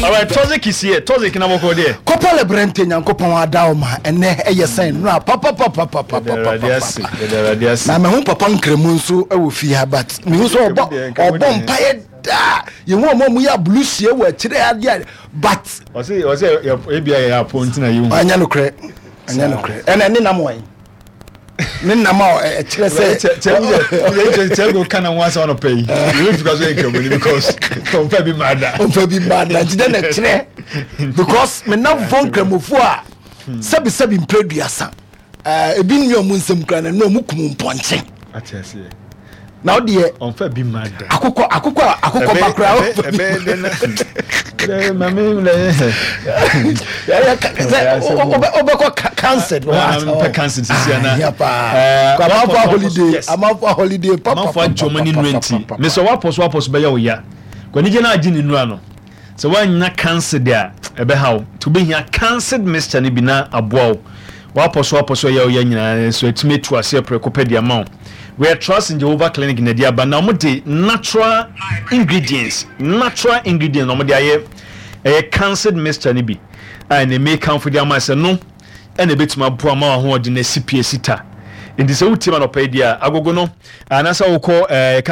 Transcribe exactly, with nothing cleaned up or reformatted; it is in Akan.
Alright, Toxic is here. Toxic na bɔkɔ deɛ. Kɔpɔ Lebrɛnte, Nyankopɔn ada wo ma ɛnɛ ɛyɛ sɛn nora. Yɛda ase. Papapapapapapapa. Yɛda Awurade ase. Na meho papa Nkramu nso wɔ fie ha, but mehu sɛ ɔbɔ ɔbɔ mpayɛ daa. Yɛhu ɔma mu yɛ abulusie wɔ akyirɛ adeɛ, but ɔsɛ ɔsɛ ebia yɛ apɔ ntina yɛ hu. Ɛnyɛ nokorɛ, ɛnyɛ nokorɛ. Ɛnɛ ne nam wɔn ne nam a ɛkyerɛ sɛ Kyɛ ka na ho asɛm anɔpɛ yi yɛbɛfi ka so yɛ Nkramoni because ɔmfa bi maa da. Ɔmfa bi maa da, nti dɛ na ɛkyerɛ because me namfoɔ Nkramofoɔ a sɛbisɛbi mpɛ duasa, ebi nni ɔmo nsɛm kura na ɛnu ɔmo kum mpɔnkye. Ate aseɛ. Na ɔdeɛ ɔmfa bi maa da. Akokɔ akokɔ akokɔ bakora. Ɛbɛyɛ dɛ na mame wobɛkɔ cancer. Mpɛ cancer sisi ana. Amanfo holiday, amanfo holiday. Amanfo agye ɔmo ani nnura, nti mesɛ wapɔ so wapɔ so bɛyɛ wo ya kwanigye no agye ne nnura no sɛ woanya cancer deɛ a, ɛbɛha wo, nti wobɛhia cancer mixture no bi na aboa wo. Wapɔ so wapɔ so ɛyɛ wo ya nyinaa so atumi atu aseɛ prɛko pɛ de ama wo. We Trust in Jehovah Clinic na de aba na wɔn de natural ingredients natural ingredients na wɔn de ayɛ ɛyɛ cancer mixture no bi a ɛna eme kanfo de ama sɛ no ɛna ebɛtumi aboa ma ahoɔden na esi pie si ta. Nti sɛ wotie ma nɔpɛ yi deɛ a, agogo no anaasɛ wokɔ ɛɛ kan.